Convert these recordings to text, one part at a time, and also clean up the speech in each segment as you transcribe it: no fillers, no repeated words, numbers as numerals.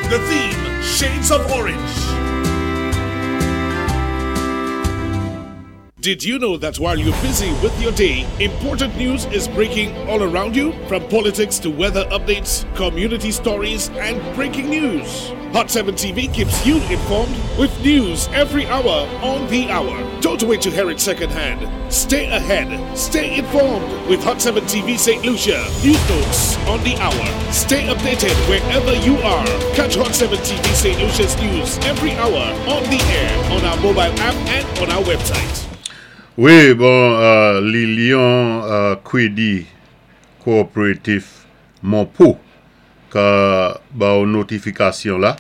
The theme, Shades of Orange. Did you know that while you're busy with your day, important news is breaking all around you? From politics to weather updates, community stories, and breaking news. Hot 7 TV keeps you informed with news every hour on the hour. Don't wait to hear it secondhand. Stay ahead. Stay informed with Hot 7 TV St. Lucia. News notes on the hour. Stay updated wherever you are. Catch Hot 7 TV St. Lucia's news every hour on the air, on our mobile app, and on our website. Wi, bon, Lilion Kwédi Cooperative Monpo ka ba ou notifikasyon la.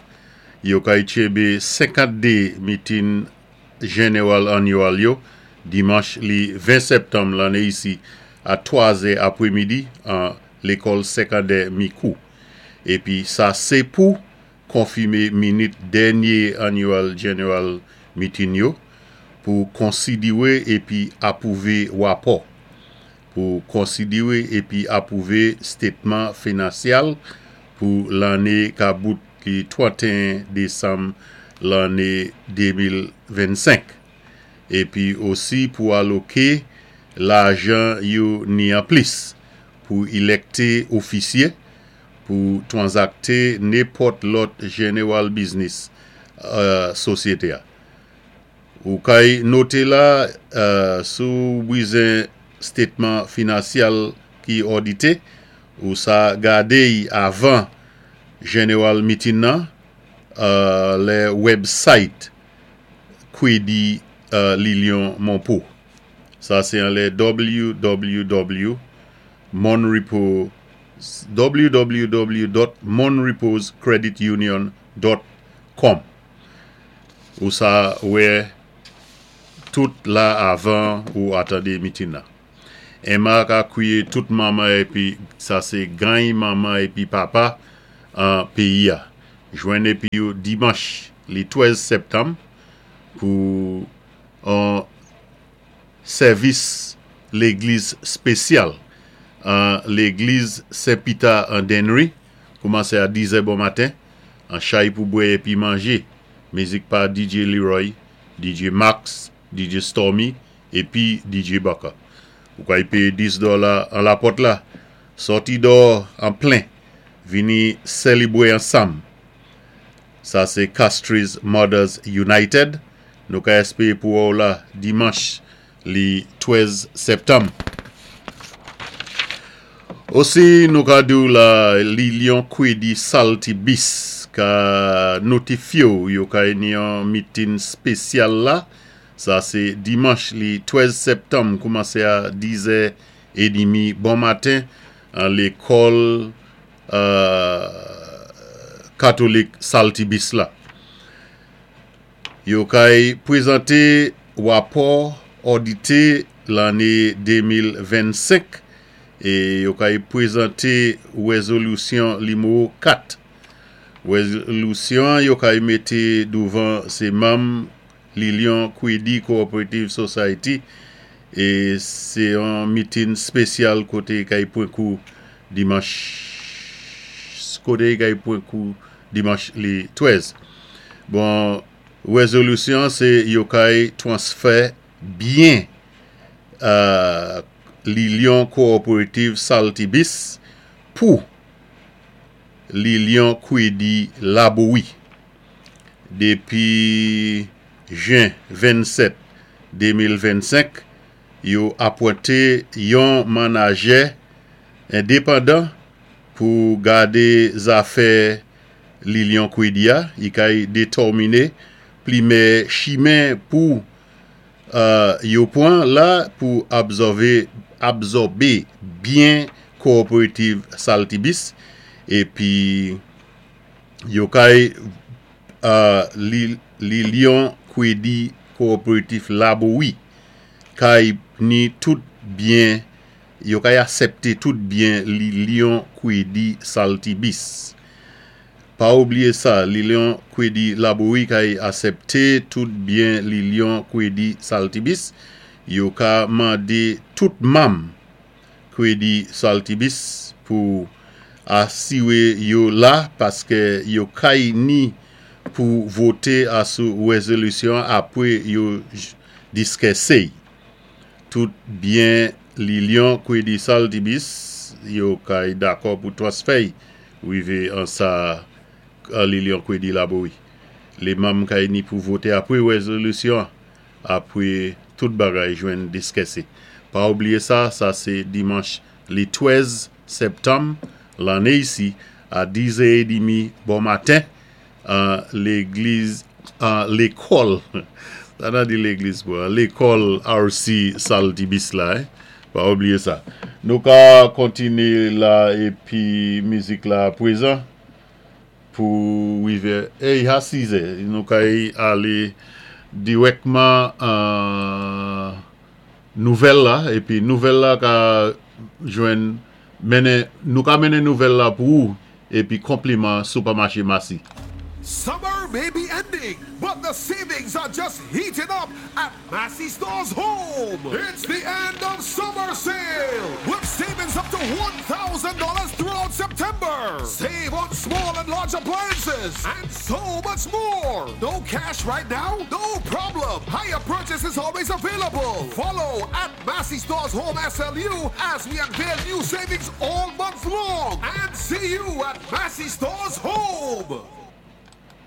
Yo kay tchébé 52 meeting general annual yo dimanch li 20 septanm lanné isi a 3 zè apwémidi an lékòl sékandè Mikou. Épi sa sé pou konfimé minit dènyé annual general meeting yo, pou konsidiwé épi apwouvé wapò, pou konsidiwé épi apwouvé stétman finansyal pou lanné ka bout ki 31 désanm lanné 2025, épi osi pou aloké lajan yo ni an plis, pou ilèkté ofisyé, pou twanzakté nenpòt lòt general business sosyété-a. Ou kay noté la, si ou bizen statement finansyal ki òdité, ou sa gadé-y avan general meeting nan lè website Kwédi Lilion Monpo. Sa sé an lè www monrepo www.monreposcreditunion.com. Ou sa wè tout la avan ou atandé meeting nan. Emma ka kwiyé tout manman épi sa sé gany manman épi papa an péyi-a. Jwenn épi yo dimanch li 13 septanm pou an sèvis légliz spésyal an légliz Sen Pita an Dennery koumansé a 10 zè bon maten an chay pou bwè épi manjé. Mizik pa DJ Leroy, DJ Max, DJ Stormy épi DJ Bucker. Ou kay péyé 10 dòla an lapòt la. Sòti dò an plen, vini sélibwé ansanm. Sa sé Castries Mothers United. Nou ka èspéwé pou wè ou la dimanch li 13 septanm. Osi nou ka di ou la Lilion Kwédi Salty Bis ka notifyé ou yo kay ni yon meeting spésyal la. Sa sé dimanch li 13 septanm koumansé a 10 zè édmi bon maten an lékòl katolik Saltibis la. Yo kay pwézanté wapò òdité lanné 2025 é yo kay pwézanté wézolisyon nimewo 4. Wézolisyon an yo kay mété douvan sé manm Lilion Kwédi Cooperative Society é sé yon mitin spésyal koté kay pwan kou dimanch koté kay pwan kou dimanch li 13. Bon, wézolisyon an sé yo kay twansfè byen Lilion Cooperative Saltibis pou Lilion Kwédi Labowi. Dépi jen 27, 2025, yo apwenté yon manajè endepandan pou gadé zafè Lilion Kwédi a, i kay détòminé plimè chimen pou yo pwan la pou abzòvé abzòbé byen Cooperative Saltibis épi yo kay Lilion Kwédi Cooperative Labowi kay ni tout byen yo kay asèpté tout byen Lilion Kwédi Saltibis. Pa oubliyé sa, Lilion Kwédi Labowi kay asèpté tout byen Lilion Kwédi Saltibis. Yo ka mandé tout manm Kwédi Saltibis pou. Asiwé yo la paské yo kay ni pou voté asou wézolisyon apwé yo diskisé. Tout byen Lilyon Kwédi Saltibus yo kay dakò pou transfè wivé an sa Lilyon Kwédi Laborie. Lé manm kay ni pou voté apwé wézolisyon apwé tout bagay jwenn diskisé. Pa oubliyé sa, sa sé dimanch lé 13 septanm lanné isi a 10h30 bon maten an légliz an lékòl sa nan di légliz pou an lékòl RC Saltibus la eh? Pa oubliyé sa. Nou ka kontiné la épi mizik la pwézan pou wivé éy ha 6 nou kay alé dirèkman an nouvèl la épi nouvèl la ka jwenn mennen nou ka mennen nouvèl la pou ou épi konpliman Sipèmaché Massy. Summer may be ending, but the savings are just heating up at Massy Stores Home. It's the end of summer sale with savings up to $1,000 throughout September. Save on small and large appliances and so much more. No cash right now? No problem. Hire purchase is always available. Follow at Massy Stores Home SLU as we unveil new savings all month long. And see you at Massy Stores Home.